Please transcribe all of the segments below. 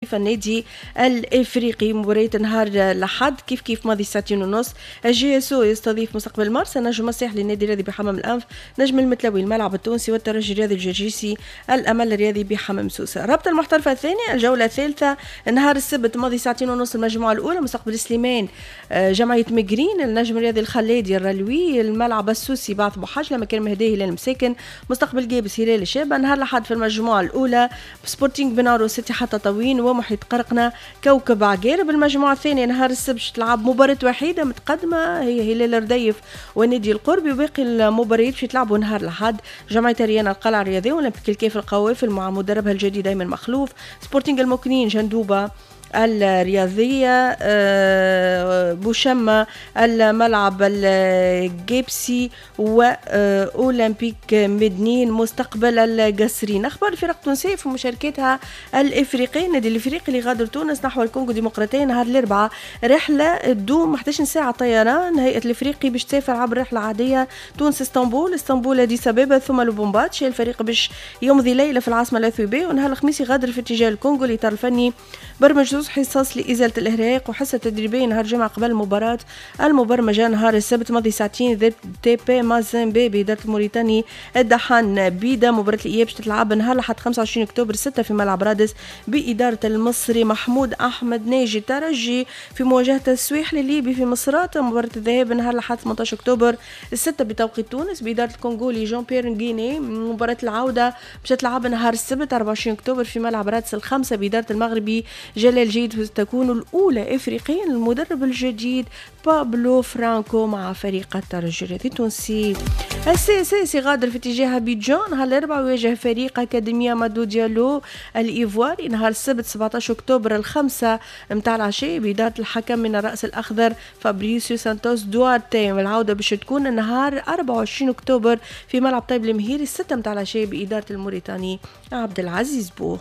النادي الافريقي. مباراة نهار الاحد كيف كيف ماضي 2:30، ال JSO يستضيف مستقبل مرسى، نجم الساحلي النادي الرياضي بحمام الانف، نجم المتلوي الملعب التونسي، والترجي الرياضي الجرجيسي الامل الرياضي بحمام سوسه. رابطه المحترفه الثانية الجولة الثالثة نهار السبت ماضي 2:30، المجموعة الاولى مستقبل سليمان جمعية مقرين، النجم الرياضي الخلادي الرلوي، الملعب السوسي بعث بوحجله، مكان مهديه هلال مساكن، مستقبل قابس هلال الشابه. نهار الاحد في المجموعة الاولى سبورتينغ بنارو اتحاد تطاوين ومحيط قرقنا كوكب عقارب. المجموعة الثانية نهار السبت تلعب مباراة وحيدة متقدمة هي هلال رديف والنادي القربي، وباقي المباريات باش يتلعبوا نهار الأحد جمعية ريانا القلعة الرياضية، أولمبيك الكاف القوافل مع مدربها الجديد أيمن مخلوف، سبورتينغ المكنين جندوبة الرياضية، بوشمة الملعب الجيبسي، وأولمبيك مدنين مستقبل القصرين. أخبار الفرق التونسية في مشاركتها الإفريقية، النادي الإفريقي اللي غادر تونس نحو الكونغو الديمقراطية نهار الأربعاء، رحلة تدوم 11 ساعة طيران. هيئة الإفريقي باش تسافر عبر رحلة عادية تونس اسطنبول، اسطنبول أديس أبابا ثم لوبومباتشي. الفريق باش يمضي ليلة في العاصمة الأثيوبية، ونهار الخميس يغادر في اتجاه الكونغو. الإطار الفني برمج زوز حصص لإزالة الإرهاق وحصة تدريبية نهار الجمعة قبل المباراة المبرمجة نهار السبت ماضي ساعتين ضد تي بي مازيمبي بإدارة الموريتاني الدحان بيدا. مباراة الإياب باش تتلعب نهار الأحد 25 أكتوبر 6 في ملعب رادس بإدارة المصري محمود أحمد ناجي. الترجي في مواجهة السويحلي الليبي في مصراتة، مباراة الذهاب نهار الأحد 18 أكتوبر 6 بتوقيت تونس بإدارة الكونغولي جون بيير نغيني. مباراة العودة باش تتلعب نهار السبت 24 أكتوبر في ملعب رادس 5 بإدارة المغربي جلال جيد، تكون الأولى إفريقيا المدرب الجديد بابلو فرانكو مع فريق الترجي الرياضي التونسي. ال CSS يغادر في اتجاه أبيجان نهار الأربعاء ويواجه فريق أكاديميا مادو ديالو الإيفواري نهار السبت 17 أكتوبر 5 متاع العشاء بإدارة الحكم من الرأس الأخضر فابريسيو سانتوس دوارتي. والعودة باش تكون نهار 24 أكتوبر في ملعب طيب المهيري 6 متاع العشاء بإدارة الموريتاني عبد العزيز بو.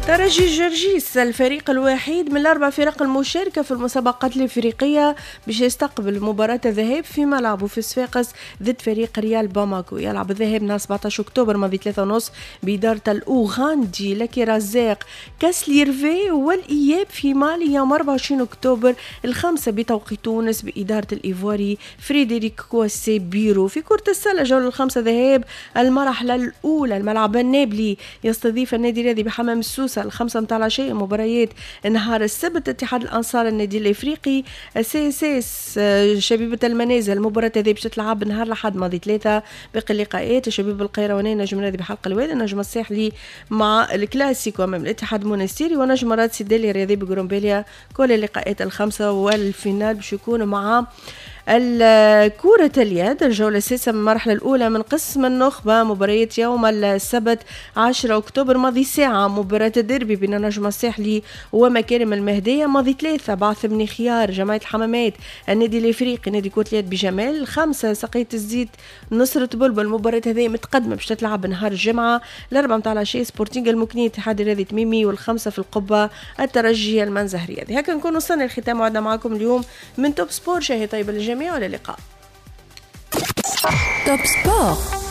ترجي جرجيس الفريق الوحيد من الأربع فرق المشاركة في المسابقات الإفريقية باش يستقبل مباراة الذهاب في ملعبه في صفاقس ضد فريق ريال باماكو. يلعب الذهاب نهار 17 أكتوبر ماضي 3:30 بإدارة الأوغندي لكي رزاق كاسليرفي، والإياب في مالي يوم 24 أكتوبر 5 بتوقيت تونس بإدارة الإيفواري فريدريك كواسي بيرو. في كرة السلة جولة الخمسة ذهاب المرحلة الأولى الملعب النابلي يستضيف النادي الرياضي بحمام السوسة 5 متاع العشاء. مباريات نهار السبت اتحاد الانصار النادي الافريقي، CSS شبيبة المنازل، المباراة هذه باش تلعب نهار الاحد ماضي 3. باقي اللقاءات شبيب القيرواني نجم النادي بحلق الوادي، نجم الساحلي مع الكلاسيكو امام الاتحاد المونستيري، ونجم رادس الدالي الرياضي بقرنباليا. كل اللقاءات الخمسة وال finale باش يكونوا مع كرة اليد الجولة السادسة من المرحلة الأولى من قسم النخبة. مباريات يوم السبت 10 أكتوبر ماضي ساعة مباراة الديربي بين النجم الساحلي ومكارم المهدية، ماضي 3 بعث بن خيار جمعية الحمامات النادي الإفريقي نادي كرة اليد بجمال، 5 سقية الزيت نصرة بلبل. المباراة هذه متقدمة باش تتلعب نهار الجمعة 4 متاع العشية سبورتينغ المكني اتحاد الرياضي تميمي، والخمسة في القبة الترجي المنزه الرياضي. هكا نكون وصلنا للختام وعدنا معكم اليوم من Top Sport. شهية طيبة للجميع والى اللقاء. Top Sport.